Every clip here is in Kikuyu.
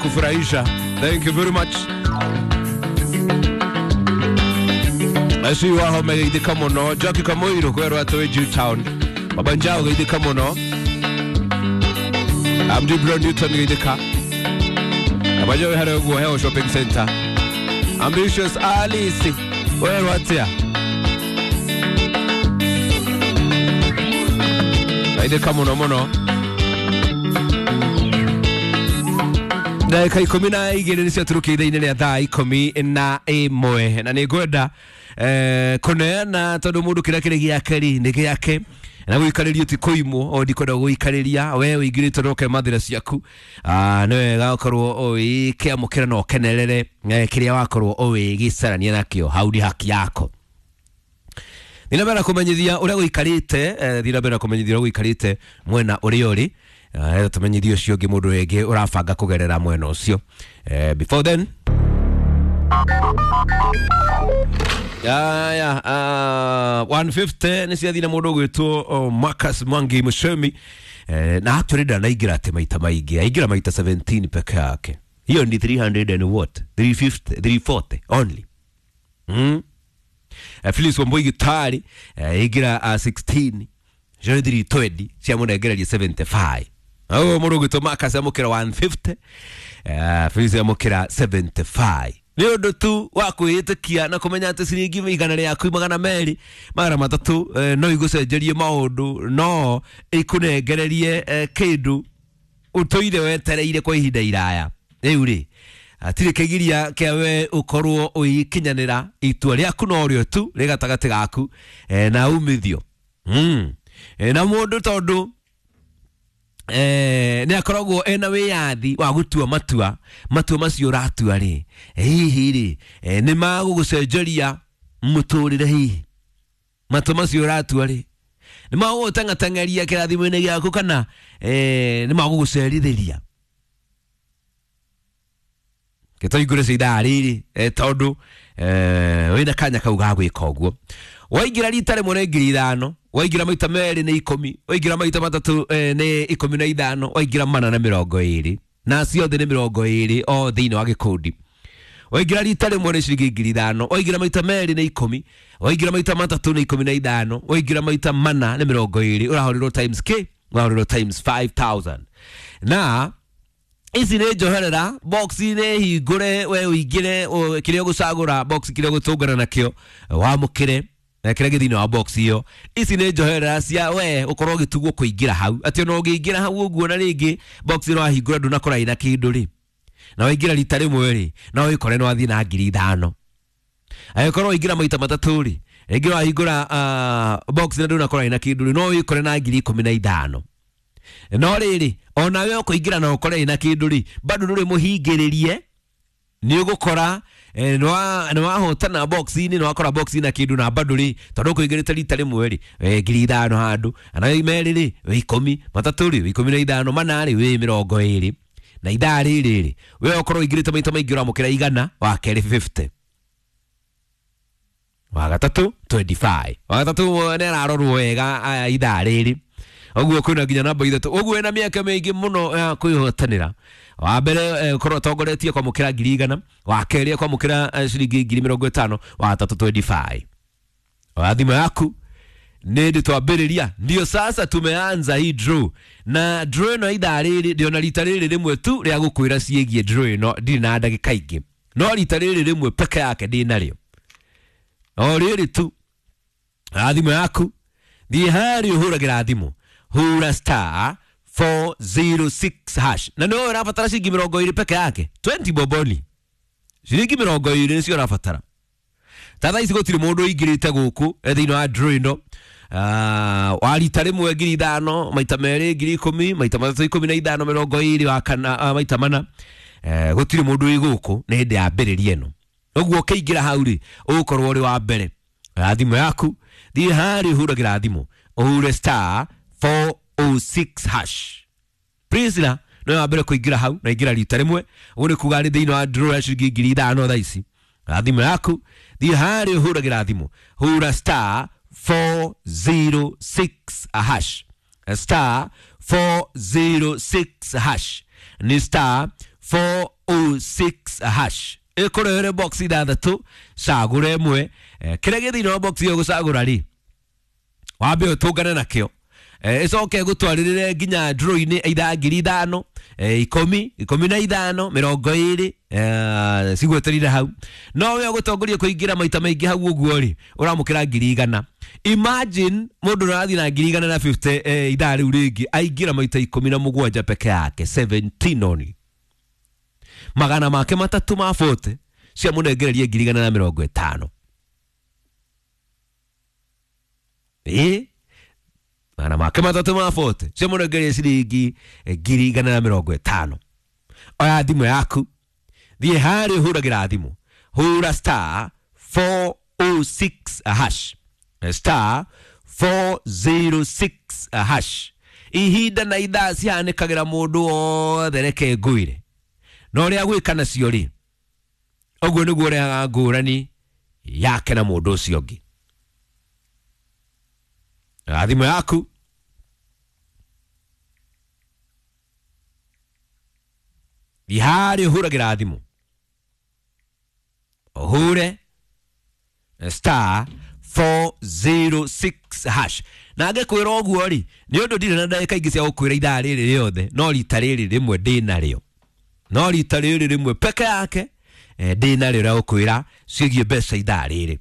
Kufurahisha. Thank you very much. Acio waho megeithĩka mũno. Jackie Kamoiro kwerwo atĩ wĩ Jew Town. Baba Njao geithĩka mũno. Amdi Brown Newton geithĩka. Abajo harĩa ũguo Heo Shopping Center. Ambitious Alice werwo atĩa? Geithĩka mũno mũno. Ndagĩka 12 nĩcio tũrũkĩire ithaa-inĩ rĩa thaa 11, na nĩ ngwenda kũneana tondũ mũndũ kĩrĩa kĩrĩ gĩake rĩ nĩ gĩake, na gũikarĩrio ti kũimwo. O ndikwenda gũikarĩria we ũingĩrĩte na ũkemathĩra ciaku. Nĩ wega ũkorwo ũgĩkĩamũkĩra na ũkenerere kĩrĩa wakorwo ũgĩgĩcarania nakĩo. Hau nĩ haki yako. Thiĩ na mbere na kũmenyithia ũrĩa gũikarĩte, thiĩ na mbere na kũmenyithia ũrĩa gũikarĩte mwena ũrĩa ũrĩ, tũmenyithie ũcio ũngĩ mũndũ wĩngĩ ũrabanga kũgerera mwena ũcio. Before then, aya 150 nĩ ciathiĩ na mũndũ ũgwĩtwo Marcus Mwangi Mushemi, na actually ndanaingĩra atĩ maita maingĩ, aingĩra maita 17 peke yake. Hiyo ni 300 and what, 350, 340 only. Phyllis Wambui Gitari aingĩra 16 cio 320 ciamũnengereria 75. Au mũndũ ũgwĩtwo Marcus amũkĩra 150, Phyllis amũkĩra 75. Nĩ ũndũ tu wa kwĩĩtĩkia na kũmenya atĩ ciringi 100 200 300 no igũcenjerie maũndũ, no ikũnengererie kĩndũ ũtũire wetereire kwa ihinda iraya. Rĩu rĩ, hatirĩ kĩgiria kĩa we ũkorwo ũgĩkinyanĩra itua rĩaku, no rĩo tu rĩ gatagatĩ gaku na umithio. Na mũndũ tondũ nĩ akoragwo ena wĩyathi wa gũtua matua, matua macio ũratua rĩ, hihi rĩ, nĩ magũgũcenjeria mũtũrĩre? Hihi matua macio ũratua rĩ, nĩ magũgũteng'ateng'eria kĩrathimo-inĩ gĩaku, kana nĩ magũgũcerithĩria? Gĩtũingũre cia ithaa rĩrĩ, tondũ wĩna kanya kau ga gwĩka ũguo. Waingĩra rita rĩmwe nĩ 5,000, waingĩra maita merĩ nĩ 10, waingĩra maita matatũ nĩ 15, waingĩra mana na 20, na ciothe nĩ 20 o thĩinĩ wa gĩkundi. Waingĩra rita rĩmwe nĩ ciringi 5,000, waingĩra maita merĩ nĩ 10, waingĩra maita matatũ nĩ 15, waingĩra maita mana nĩ 20. Ũrahũrĩrwo times k, ũrahũrĩrwo times 5000. Na ici nĩ njoherera box nĩ hingũre, we ũingĩre kĩrĩa ũgũcagũra, box kĩrĩa ũgũtũngana nakĩo wamũkĩre kĩrĩa gĩ thĩinĩ wa box ĩyo. Ici nĩ njoherera cia we ũkorwo ũgĩtugwo kũingĩra hau, atĩ ona ũngĩingĩra hau ũguo na rĩngĩ box ĩno wahingũra ndũnakora ĩna kĩndũ rĩ, na waingĩra rita rĩmwe rĩ, no wĩkore nĩ wathiĩ na 5,000. Angĩkorwo waingĩra maita matatũ rĩ, rĩngĩ wahingũra box na ndũnakora ĩna kĩndũ rĩ, no wĩkore na 15,000. No rĩrĩ, onawe ũkũingĩra na ũkore ĩna kĩndũ rĩ, bado ndũrĩ mũhingĩrĩrie, nĩ ũgũkora nĩ wahotana box-inĩ, nĩ wakora box na kĩndũ, na bado rĩ, tondũ ũkũingĩrĩte rita rĩmwe rĩ, 5,000 handũ, ana merĩ rĩ wĩ 10, matatũ rĩ wĩ 15, mana rĩ wĩ 20. Na ithaa rĩrĩ rĩ, we ũkorwo ũingĩrĩte maita maingĩ ũramũkĩra 100, wa kerĩ 50, wa gatatũ 25, wa gatatũ nĩ ararorwo wega ithaa rĩrĩ ũguo kwĩna nginya namba 3. Ũguo wĩna mĩaka mĩingĩ mũno ya kwĩhotanĩra. Wa mbere ũkorwo atongoretie kwamũkĩra 100,000, wa kerĩ kwamũkĩra ciringi 50,000, wa gatatũ 25. Wa thimũ yaku nĩ ndĩ twambĩrĩria, ndio sasa tumeanza hii draw, na draw ĩno ithaa rĩrĩ ndĩona rita rĩrĩ rĩmwe tu rĩa gũkwĩra ciĩgiĩ draw ĩno, ndirĩ na ndagĩka ingĩ, no rita rĩrĩ rĩmwe peke yake ndĩ narĩo, o rĩrĩ tu. Thimũ yaku thiĩ harĩa ũhũragĩra thimũ, hura star 406 hash, na nĩwe ũrabatara ciringi 20 peke yake, 20 boboni, ciringi 20 nĩcio ũrabatara. Ta thaa ici gũtirĩ mũndũ ũingĩrĩte gũkũ thĩinĩ wa draw ĩno. Wa rita rĩmwe 5,000, maita merĩ 10,000, maita matatũ 15, 20, wa kana maita mana, gũtirĩ mũndũ wĩ gũkũ nĩ hĩndĩ ya mbĩrĩria ĩno. Ũguo ũkĩingĩra hau rĩ, ũgũkorwo ũrĩ wa mbere. Thimũ yaku thiĩ harĩa ũhũragĩra thimũ, ũhure star 406 hash. Priscilla no wa mbere kũingĩra hau, na ingĩra rita rĩmwe, ũguo nĩ kuga nĩ thĩinĩ wa draw ya ciringi 5,000 thaa ici. Thimũ yaku thiĩ harĩa ũhũragĩra thimũ, hura star 406 hash, star 406 hash, ni star 406 hash ĩkũrehere box ithathatũ cagũra ĩmwe. Kĩrĩa gĩ thĩinĩ wa box ĩyo gũcagũra rĩ, wambe ũtũngane nakĩo, ĩcoke ĩgũtwarĩrĩre nginya draw-inĩ either 5,000, 10, 15, 20, cigweterire hau. No we ũgũtongoria kũingĩra maita maingĩ hau ũguo rĩ, ũramũkĩra 100,000. Imagine mũndũ ũrathiĩ na 150,000 ithaa rĩu rĩngĩ aingĩra maita 17 peke yake, 17 only. Magana make matatũ ma 40 ciamũnengereria 150,000. Magana make matatũ ma 40 ciamũnengereria ciringi 150,000. Oya thimũ yaku, thiĩ harĩa ũhũragĩra thimũ, hũra star 406 hash, star 406 hash. Ihinda na ithaa cihanĩkagĩra mũndũ wothe, reke ngwĩre na ũrĩa gwĩka nacio rĩ, ũguo nĩguo ũrehaga ngũrani yake na mũndũ ũcio ũngĩ. Thimũ yaku, thiĩ harĩa ũhũragĩra thimũ, ũhũre star 406 hash. Na ngĩkwĩra ũguo rĩ, nĩ ũndũ ndirĩ na ndagĩka ingĩ cia gũkwĩra ithaa rĩrĩ rĩothe, no rita rĩrĩ rĩmwe ndĩ narĩo, no rita rĩrĩ rĩmwe peke yake ndĩ narĩo rĩa gũkwĩra ciĩgiĩ mbeca ithaa rĩrĩ.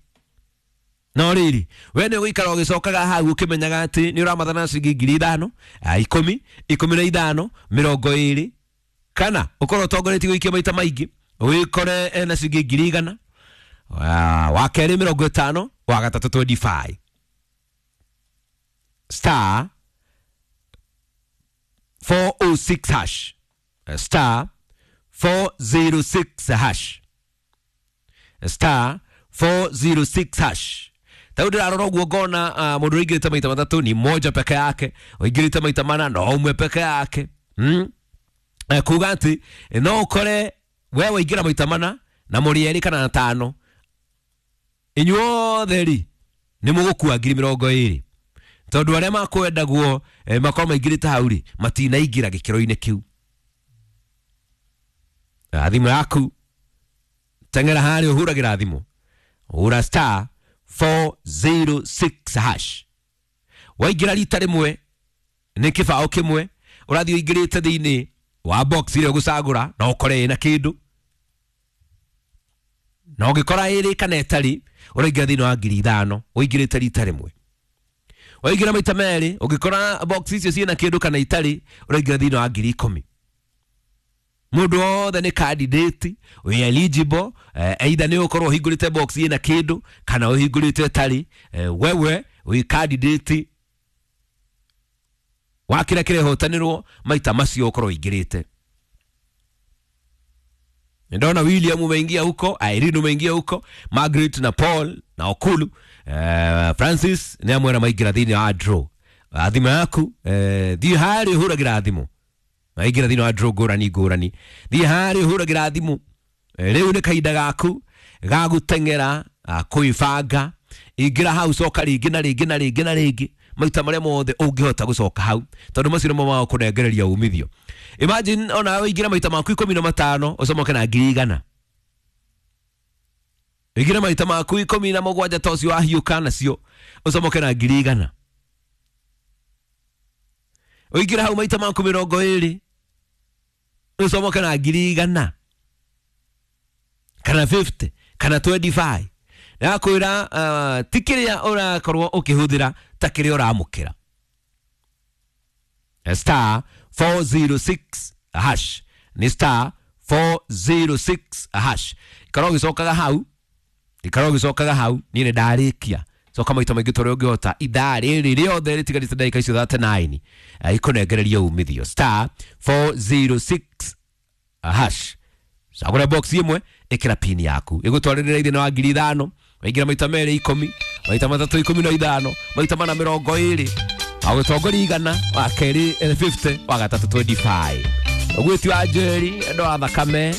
No rĩrĩ, we nĩ ũgũikara ũgĩcokaga hau ũkĩmenyaga atĩ nĩ ũramathana ciringi 5,000, 10, 15, 20, kana ũkorwo ũtongoretie gũikia maita maingĩ wĩkore na ciringi 100,000, wa kerĩ 50, wa gatatũ 25. Star 406 hash, star 406 hash, star 406 hash. Tau ndĩrarora ũguo ngona mũndũ ũingĩrĩte maita matatũ ni moja peke yake, ũingĩrĩte maita mana no ũmwe peke yake. Kuga atĩ no ũkore we waingĩra maita mana na mũrĩ erĩ kana 5, inyuothe rĩ nĩ mũgũkua 20,000, tondũ arĩa makwendagwo makorwo maingĩrĩte hau rĩ matinaingĩra gĩkĩro-inĩ kĩu. Thimũ yaku, teng'era harĩa ũhũragĩra thimũ, hũra star 406 hash. Waingĩra rita rĩmwe nĩ kĩbaũ kĩmwe, ũrathiĩ ũingĩrĩte thĩinĩ wa box ĩrĩa ũgũcagũra na ũkore ĩna kĩndũ, na ũngĩkora ĩrĩ kana ĩtarĩ, ũraingĩra thĩinĩ wa 5,000 ũingĩrĩte rita rĩmwe. Waingĩra maita merĩ, ũngĩkora box icio ciĩna kĩndũ kana itarĩ, ũraingĩra thĩinĩ wa 10,000. Mũndũ wothe nĩ candidate wĩ eligible, either nĩ ũkorwo ũhingũrĩte box ĩna kĩndũ kana ũhingũrĩte ĩtarĩ, wewe wĩ candidate wa kĩrĩa kĩrehotanĩrwo maita macio ũkorwo ũingĩrĩte. Ndona William umeingia huko, Irene umeingia huko, Margaret na Paul na Okulu, Francis nĩ amwe arĩa maingĩra thĩinĩ wa draw. Thimũ yaku, thiĩ harĩa ũhũragĩra thimũ, maingĩra thĩinĩ wa draw ngũrani ngũrani, thiĩ harĩa ũhũragĩra thimũ. Rĩu nĩ kahinda gaku ga gũteng'era, kwĩbanga, ingĩra hau, coka rĩngĩ na rĩngĩ na rĩngĩ na rĩngĩ maita marĩa mothe ũngĩhota gũcoka hau, tondũ macio nĩmo magũkũnengereria umithio. Imagine ona ũingĩra maita maku 15 ũcomoke na 100,000, ũingĩre maita maku 17 ta ũcio wahiũka nacio ũcomoke na 100,000, ũingĩre hau maita maku 20 ũcomoke na 100,000 kana 50 kana 25. Nakwĩra ti kĩrĩa ũrakorwo ũkĩhũthĩra ta kĩrĩa ũramũkĩra. Star 406 hash, ni star 406 hash. Ikara ũgĩcokaga hau, ikara ũgĩcokaga hau, niĩ nĩ ndarĩkia. Coka maita maingĩ ta ũrĩa ũngĩhota, ithaa rĩrĩ rĩothe rĩtigarĩte ndagĩka icio 39 ikũnengereria umithio. Star 406 hash. Cagũra box ĩmwe, ĩkĩra pin yaku, ĩgũtwarĩrĩra ithĩna wa 5,000, waingĩra maita merĩ 10, maita matatũ 15, maita mana 20, agũtongoria 100, wa kerĩ 50, wa gatatũ 25. Ũgwĩti wa Njeri, andũ a thakame.